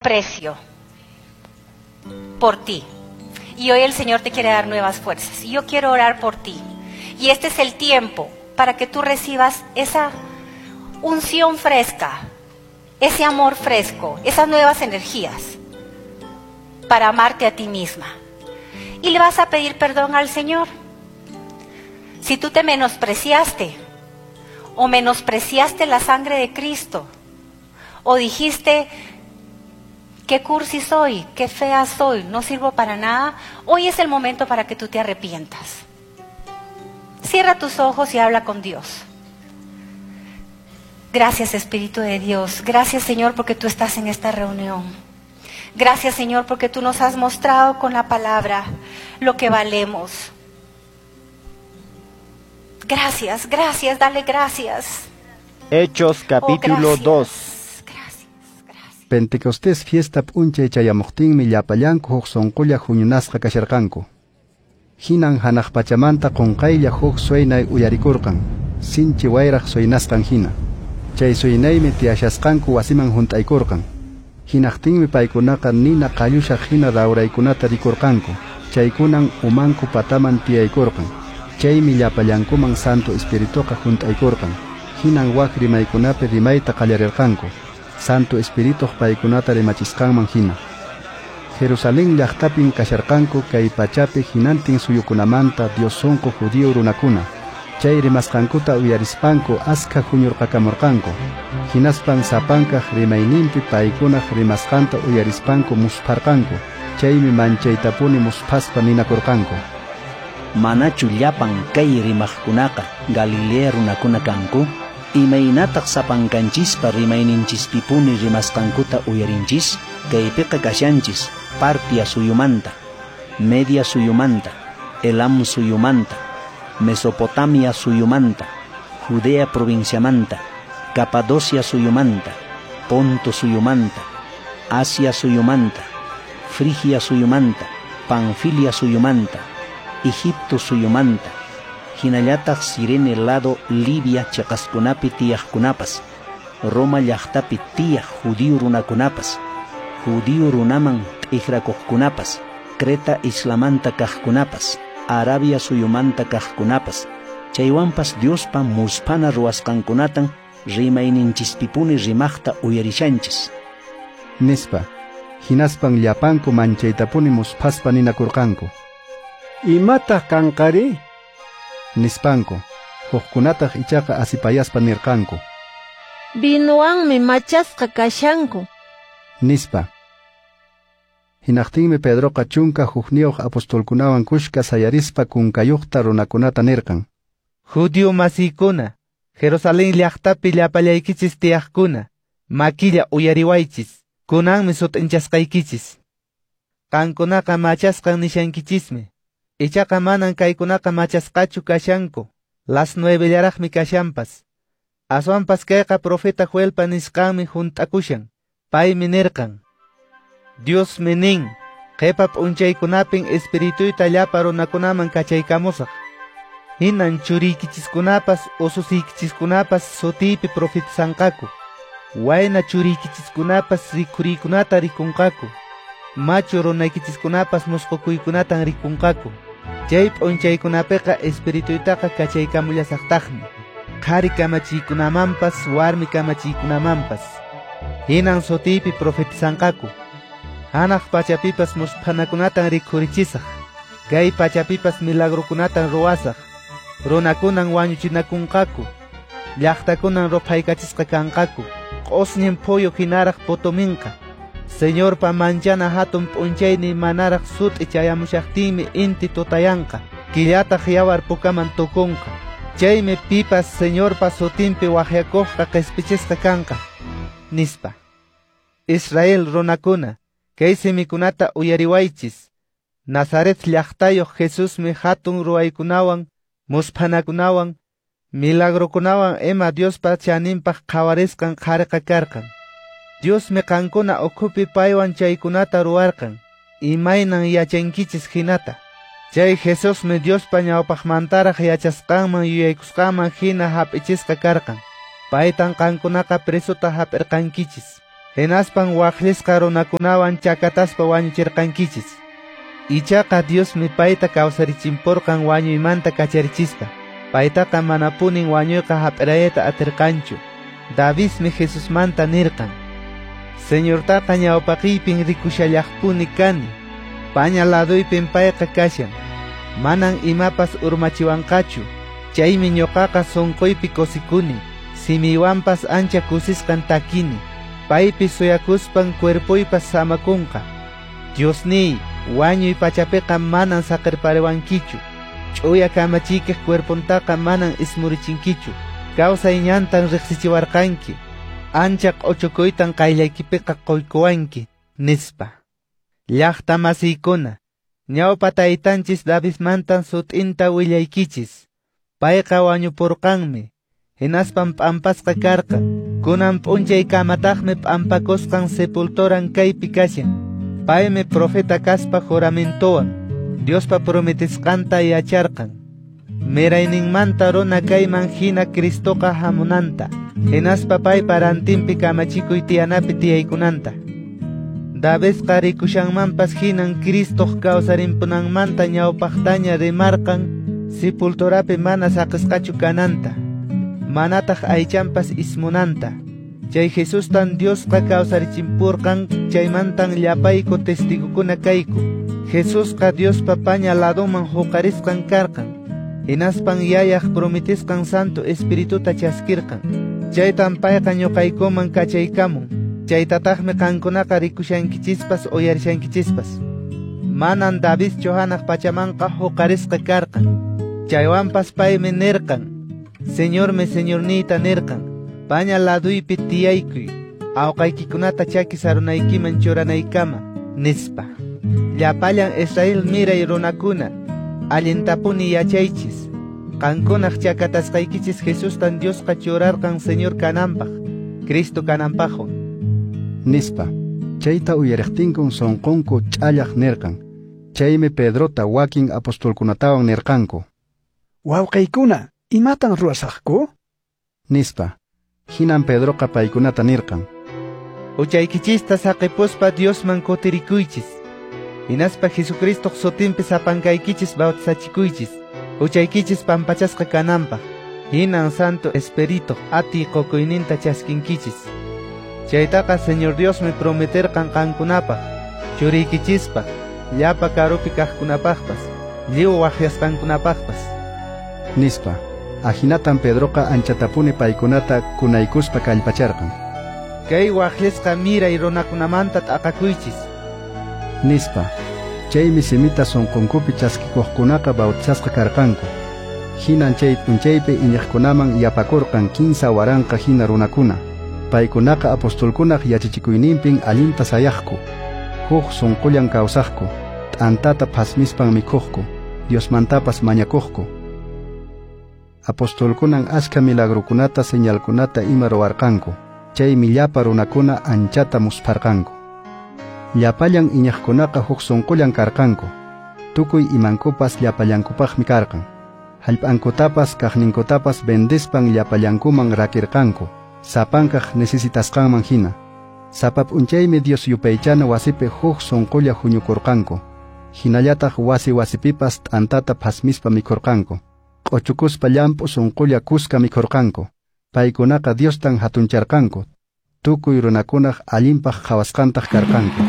precio por ti. Y hoy el Señor te quiere dar nuevas fuerzas. Y yo quiero orar por ti. Y este es el tiempo para que tú recibas esa unción fresca, ese amor fresco, esas nuevas energías para amarte a ti misma. Y le vas a pedir perdón al Señor. Si tú te menospreciaste o menospreciaste la sangre de Cristo o dijiste, qué cursi soy, qué fea soy, no sirvo para nada, hoy es el momento para que tú te arrepientas. Cierra tus ojos y habla con Dios. Gracias, Espíritu de Dios. Gracias, Señor, porque tú estás en esta reunión. Gracias, Señor, porque tú nos has mostrado con la palabra lo que valemos. Gracias, gracias, dale gracias. Hechos capítulo 2. Gracias, gracias. Pentecostés fiesta p'unchay chayamuqtinmi llapallanku huk sunqulla huñunasqa kasharqanku. Hinan hanaq pachamanta qunqaylla huk suynay uyarikurqan, sinchi wayraq suynasqan hina. Chay suynaymi tiyashasqanku wasiman hunt'aykurqan. Hinaqtinmi paykunaqa nina qallushaq hina rawraykunata rikurqanku. Chaykunan umanku pataman tiyaykurqan. Chaymi llapallankuman Santo Espirituqa hunt'aykurqan. Hinan wak rimaykunapi rimayta qallarirqanku. Santo Espirituq paykunata rimachisqanman hina. Jerusalén llaqtapin kasharqanku kay pachapi hinantin suyukunamanta Dios sunqu judío runakuna. Chay rimasqankuta uyarispanku askha huñurqakamurqanku. Hinaspan sapankaq rimayninpi paykunaq rimasqanta uyarispanku muspharqanku. Chaymi manchaytapuni musphaspa ninakurqanku. Manachu llapan kay rimaqkunaqa Galilea runakuna kanku? Imaynataq sapankanchispa rimayninchispipuni rimasqankuta uyarinchis? Kaypiqa kashanchis Partia suyumanta, Media suyumanta, Elam suyumanta, Mesopotamia suyumanta, Judea provinciamanta, Capadocia suyumanta, Ponto suyumanta, Asia suyumanta, Frigia suyumanta, Panfilia suyumanta, Egipto suyumanta, hinallataq Sirene lado Libia chiqaskunapi tiyaqkunapas, Roma llaqtapi tiyaq judío runakunapas, judío runaman t'ikrakuqkunapas, Creta islamanta kaqkunapas, Arabia suyumanta kaqkunapas, chaywanpas Diospa musphana ruwasqankunatan rimayninchispipuni rimaqta uyarishanchis. Nispa, hinaspan llapanku manchaytapuni musphaspa ninakurqanku. Imataq kanqari? Nispanku, hukkunataq ichaqa asipayaspa nirqanku. Vinuwanmi machasqa kashanku. Nispa. Hinaqtinmi Pedroqa 11 apostolkunawan kushka sayarispa kunkayuqta runakunata nirqan. Judío masiykuna, Jerusalén llaqtapi llapallaykichis tiyaqkuna, makilla uyariwaychis, kunanmi sut'inchasqaykichis. Qankunaqa machasqan nishankichismi. Ichaqa manan kaykunaqa machasqachu kashanku, las 9llaraqmi kashanpas. Aswanpas kayqa profeta Joelpa nisqanmi hunt'akushan, paymi nirqan. Diosmi nin, qhipa p'unchaykunapin espirituyta llapa runakunaman kachaykamusaq. Hinan churiykichiskunapas ususiykichiskunapas sutiypi profetizanqaku. Wayna churiykichiskunapas rikhuriykunata rikunqaku. Machu runaykichiskunapas musqukuykunatan rikunqaku. Chay p'unchaykunapiqa espirituytaqa kachaykamullasaqtaqmi. Qhari kamachiykunamanpas warmi kamachiykunamanpas. Hinan sutiypi profetizanqaku. Hanaq pachapipas musphanakunatan rikhurichisaq. Kay pachapipas milagrokunatan ruwasaq. Runakunan wañuchinakunqaku. Llaqtakunan ruphaykachisqa kanqaku. Q'usñin phuyu hinaraq putuminqa. Señorpa manchana hatun p'unchaynin manaraq sut'i chayamushaqtinmi inti tutayanqa. Killataq yawar pukaman tukunqa. Chaymi pipas Señorpa sutinpi waqyakuqqa qispichisqa kanqa. Nispa. Israel runakuna, kay simikunata uyariwaychis. Nazaret llaqtayuq Jesusmi hatun ruwaykunawan, musphanakunawan, milagrokunawan ima Diospa chaninpaq qhawarisqan qhariqa karqan. Diosmi qankuna ukhupi paywan chaykunata ruwarqan, imaynan yachankichis hinata. Chay Jesusmi Diospa ñawpaqmantaraq yachasqanman yuyaykusqanman hina hap'ichisqa karqan. Paytan qankunaqa presuta hap'irqankichis. Hinaspan waqllisqa runakunawan chakataspa wañuchirqankichis. Ichaqa Diosmi payta kawsarichimpurqan wañuymanta kacharichispa. Paytaqa manapunin wañuyqa hap'irayta atirqanchu. Davidmi Jesusmanta nirqan: Señortaqa ñawpaqiypin rikushallaqpuni kani. Paña laduypin payqa kashan. Manan imapas urmachiwanqachu. Chaymi ñuqaqa sunquypi kusikuni. Simiywanpas ancha kusisqan takini. Paypi suyakuspan cuerpoypas samakunqa. Diosniy, wañuy pachapiqa manan saqirpariwankichu. Ch'uya kamachiykiq cuerpontaqa manan ismurichinkichu. Kawsay ñantan riqsichiwarqanki. Ancha q'uchukuytan qayllaykipiqa quykuwanki, nispa. Llaqta masiykuna, ñawpa taytanchis Davidmantan sut'inta willaykichis. Payqa wañupurqanmi, hinaspan p'ampasqa karqan. Kunan p'unchay kamataqmi p'ampakusqan sepulturan kaypi kashan. Paymi profeta kaspa juramentowan Diospa prometisqanta yacharqan. Mirayninmanta runa kayman hina Cristoqa hamunanta, hinaspa paypa rantinpi kamachikuy tiyanapi tiyaykunanta. Davidqa rikushanmanpas hinan Cristoq kawsarimpunanmanta ñawpaqtaña rimarqan sepulturapi mana saqisqachu kananta, manataq aychanpas ismunanta. Chay Jesustan Diosqa kawsarichimpurqan, chaymantan llapayku testigokuna kayku. Jesusqa Diospa paña laduman huqarisqan karqan. Hinaspan yayaq prometisqan Santo Espirituta chaskirqan. Chaytan payqa ñuqaykuman kachaykamun. Chaytataqmi qankunaqa rikushankichispas uyarishankichispas. Manan Davidchu hanaq pachamanqa huqarisqa karqan. Chaywanpas paymi nirqan: Señormi Señorniyta nirqan, paña laduypi tiyaykuy, awqaykikunata chaki sarunaykiman churanaykama, nispa. Llapallan Israel miray runakuna, allintapuni yachaychis. Qankunaq chakatasqaykichis Jesustan Diosqa churarqan Señor kananpaq, Cristo kananpaqwan, nispa. Chayta uyariqtinkun sunqunku ch'allaq nirqan. Chaymi Pedrota wakin apostolkunatawan nirqanku: Wawqiykuna, imatan ruwasaqku? Nispa. Hinan Pedroqa paykunata nirqan: Huchaykichista saqipuspa Diosman kutirikuychis. Hinaspa Jesucristoq sutinpi sapankaykichis bautizachikuychis, huchaykichis pampachasqa kananpaq. Hinan Santo Espirituq atiy qukuyninta chaskinkichis. Chaytaqa Señor Diosmi prometerqan qankunapaq, churiykichispaq, llapa karupi kaqkunapaqpas, lliw waqyasqankunapaqpas, nispa. Ahinatan Pedroqa anchatapuni paykunata kunaykuspa kallpacharqan. Kay waqllisqa miray runakunamanta t'aqakuychis, nispa. Chaymi simita sunqunkupi chaskikuqkunaqa bautizasqa karqanku. Hinan chay p'unchaypi iñiqkunaman yapakurqan 3000 hina runakuna. Paykunaqa apostolkunaq yachachikuyninpin allinta sayaqku. Huk sunqullan kawsaqku, t'antata phasmispan mikhuqku, Diosmantapas mañakuqku. Apostolkunan askha milagrukunata señalkunata ima ruwarqanku. Chaymi llapa runakuna anchata muspharqanku. Llapallan iñiqkunaqa huk sunqullan karqanku. Tukuy imankupas llapallankupaqmi karqan. Hallp'ankutapas kaqninkutapas vendispan llapallankuman rakirqanku, sapankaq necesitasqanman hina. Sapa p'unchaymi Dios yupaychana wasipi huk sunqulla huñukurqanku. Hinallataq wasi wasipipas t'antata phasmispa mikhurqanku. Q'uchukuspa llamp'u sunqulla kuska mikhurqanku. Paykunaqa Diostan hatuncharqanku. Tukuy runakunaq allinpaq qhawasqantaq karqanku.